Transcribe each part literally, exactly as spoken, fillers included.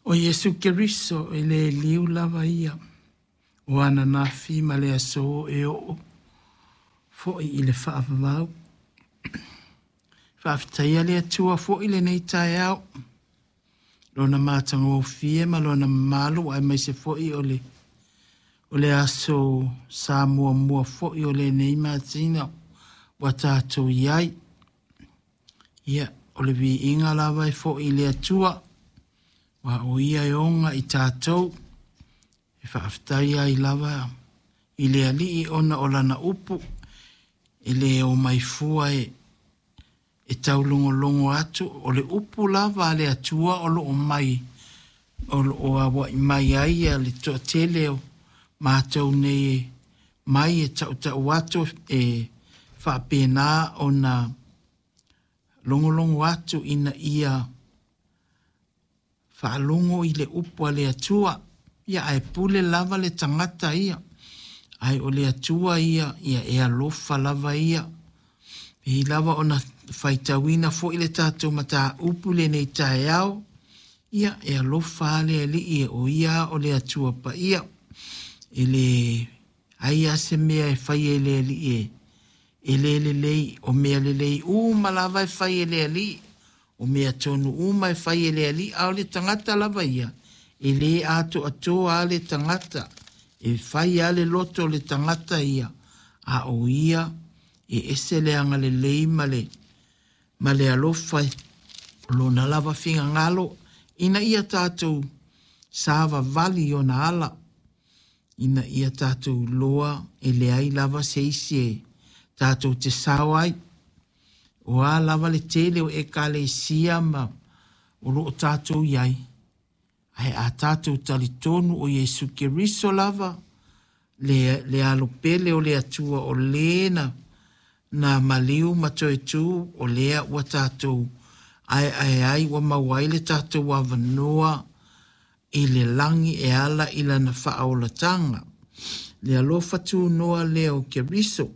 O Iesu Keriso e le liu lava ia o ananafi ma le aso e oo foi i le faavavau. Faafetaia le Atua foi lenei taeao, lona matagofie ma lona mamalu aemaise foi o le o le aso sa muamua foi o lenei masina ua tatou i ai. Ia, o le viiga lava e foi i le Atua, aua o Ia e oga i tatou, e faafetai ai lava i le Alii ona o lana upu, e le omai fua e e taulogologo atu, o le upu lava a le Atua o lo o mai, o lo o auai mai ai le toatele o matou nei mai e tautau atu e faapena ona logologo atu ina ia faalogo i le upu a le Atua. Ia ae pule lava le tagata ia. Ae o le Atua ia, ia e alofa lava ia. E pei lava ona faitauina foi le tatou mataupu i lenei taeao, ia e alofa lava le Alii o ia o le Atua Paia. E leai lava se mea e faia e le Alii e, e le lelei, o mea lelei uma lava e fai e le Alii, o mea tonu uma e fai e le Alii, a o le tagata lava ia, e le atoatoa lava le tagata, e fai lava le loto o le tagata ia, a o ia e ese le agalelei ma le, ma le alofa o lona lava finagalo, ina ia tatou savavali i ona ala, ina ia tatou iloa e leai lava se isi e tatou te sao ai. O a lava le tele o ekalesia ma o lo o tatou i ai, ae a tatou talitonu o Iesu Keriso lava, le, le alo pele o le Atua o lē na, na maliu ma toe tu, o lea ua tatou aeae ai ua maua ai le tatou avanoa i le lagi e ala i lana faaolataga. Le alofa tunoa lea o Keriso.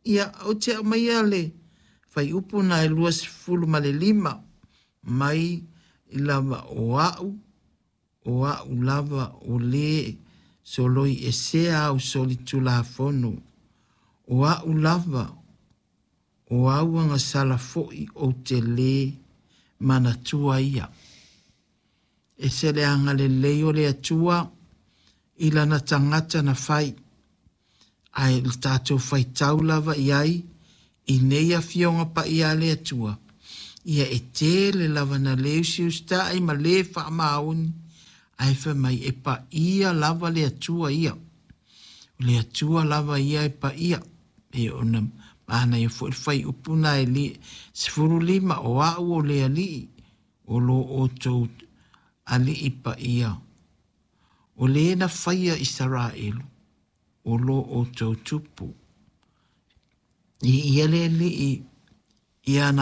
Ia, ou te aumaia le fuaiupu na e luasefulu ma le lima mai lava o a'u, o a'u lava o lē soloiesea au solitulafono, o a'u lava o au agasala foi ou te lē manatua ia. Ese le agalelei o le Atua i lana tagata na fai, ae le tatou faitau lava i ai i nei afioga paia a le Atua, ia e tele lava na le usiusita'i ma le faamaoni, ae fai mai e paia lava le Atua ia. O le Atua lava ia e paia. E ona manaia foi le fuaiupu na e li, sefulu lima, o a'u o le Alii, o lo outou Alii paia. O le na faia Isaraelu, o lo outou tupu. I ia le Alii ia na